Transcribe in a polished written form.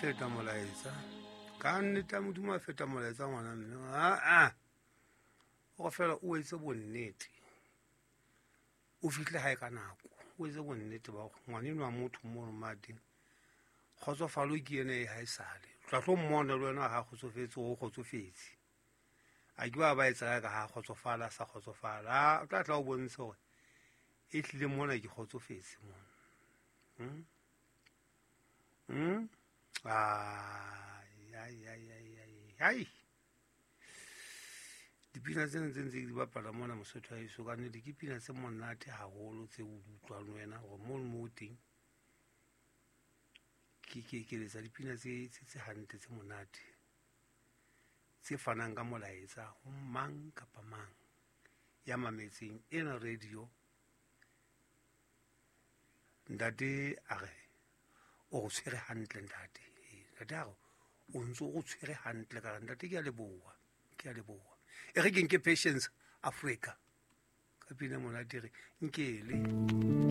Feta molaetsa ka nnete ya Modimo, a feta molaetsa ngwana mme aa o fela o etse bonnete, o fihle hae ka nako, o etse bonnete ba gore ngwaneno wa motho mo mateng kgotsofalo ke ene e ha e sale tla tlo mmona le wena ga kgotsofetse, o kgotsofetse a ke ba ba etsa ka ha kgotsofala sa kgotsofala, o tla tla o bontshe gore e tlile mona ke kgotsofetse mona. Ai ai ai ai ai, dipina tsena tse ntse di bapala mona Mosotho a eso ka nnete ke pina tse monate haholo tse o di utlwang wena gore mo le mo teng ke ke letsa dipina tse hantle, tse monate, tse fanang ka molaetsa ho mang kapa mang ya mametseng ena radio. Ntate a re o go tshwere hantle, ntate, ntate a re o ntse o go tshwere hantle ka re ntate ke a leboha, ke a leboha. E re ke nke Patience Africa ka pina monate re nkele.